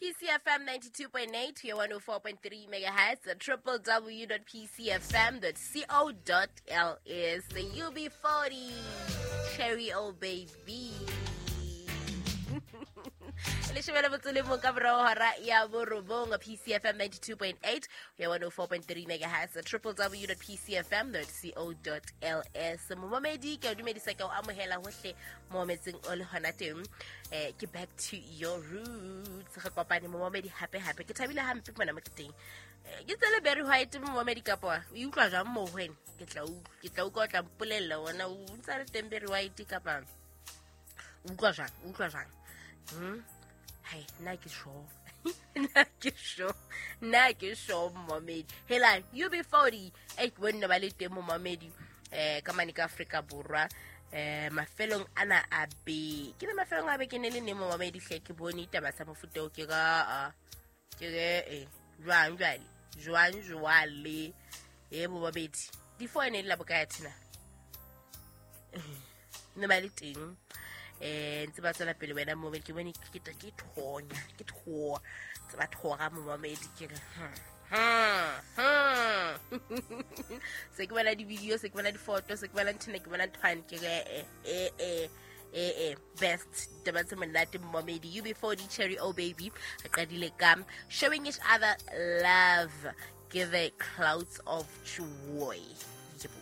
PCFM 92.8 to 104.3 megahertz, www.pcfm.co.ls. UB40, Cherry Oh Baby. Leshome le motso le mong ka morao hora ya borobong. PCFM 92.8 ya 104.3 megahertz, www.pcfm.co.ls. Momamedi, ke a dumedisa, ke o amohela hohle mo metseng o le hona teng. Ke Back to Your Roots, re kopane, momamedi, hape hape. Ke thabile hampe mona mo ke teng. Ke tsele Barry White, momamedi, kapa o utlwa jwang mo ho wena? Ke tla utlwa, o tla mpolella ona o ntsa le teng Barry White kapa o utlwa jwang, o utlwa jwang? Hai, nna ke sure, nna ke sure, nna ke sure, momamedi. Helang, UB40 e ke bonne ba le teng, momamedi, ka mane ka Afrika Borwa. Mafelong ana a be ke le mafelong a be ke ne le neng, momamedi hle, ke bone taba tsa mofuta o ke ka ke re jwang jwale, jwang jwale e, momamedi, di-four ne le la bokae thina ne ba le teng, ntse ba tswela pele. Wena momamedi, ke bone ke thonya, ke thoa tse ba thora, momamedi, ke re se ke bona di-video, se ke bona difoto, se ke bona nthena, ke bona nthwane, ke re best taba tse monate, momamedi. UB40, Cherry Oh Baby. Re qadile ka Showing Each Other Love, Give Clouds of Joy. Yebo.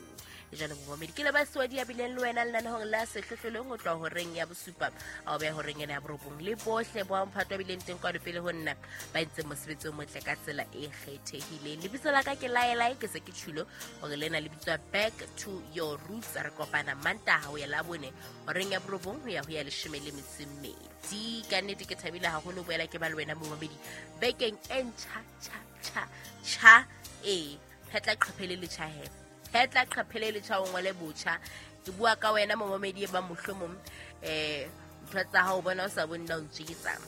Jalo, momamedi, ke le baswadi ya bileng le wena lenaneong la Sehlohlolong o tloha horeng ya bosupa a o beha horeng ena ya borobong, le bohle bo mphato a bileng teng kwano pele ho nna ba entseng mosebetsi o motle ka tsela e kgethehileng. Lebitso la ka ke Laelae, ke se ke tjhulo hore lena le bitswa Back to Your Roots. Re kopana Mantaha ho ya Labone horeng ya borobong ho ya ho ya 12. Ka nnete ke thabile haholo ho boela ke ba le wena, momamedi, bekeng e ntjha tjha tjha tjha. Ee, phetla qhephe le letjha he, phetla qhephe le letjha, o ngole botjha. Ke bua ka wena, momamedi, e bang mohlomong ntho tsa hao bona o sa bone na o ntjeketsang.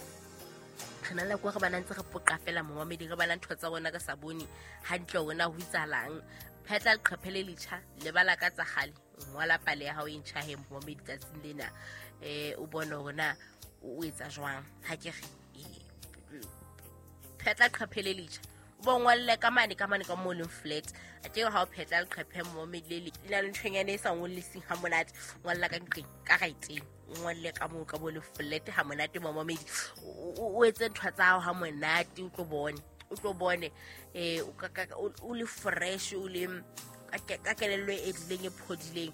Re na le nako re bana ntse re poqa fela, momamedi, re bala ntho tsa bona re sa bone hantle hore na ho itsahalang. Phetla leqhephe le letjha, lebala ka tsa kgale, ngola pale ya hao e ntjha he, momamedi, tsatsing lena. O bone hore na o etsa jwang. Ha ke re phetla leqhephe le letjha, o bo ngolle ka mane, ka mane ka mo leng flat. A ke ha o phetla leqhephe, momamedi, le le na le nthonyana e sa ngolliseng ha monate, ngolla ka nqeng ka right-eng, o ngolle ka moo ka mo le flat ha monate, momamedi, o etse ntho tsa hao ha monate, o tlo bone, o tlo bone o le fresh, o le ka kelello e dileng e phodileng.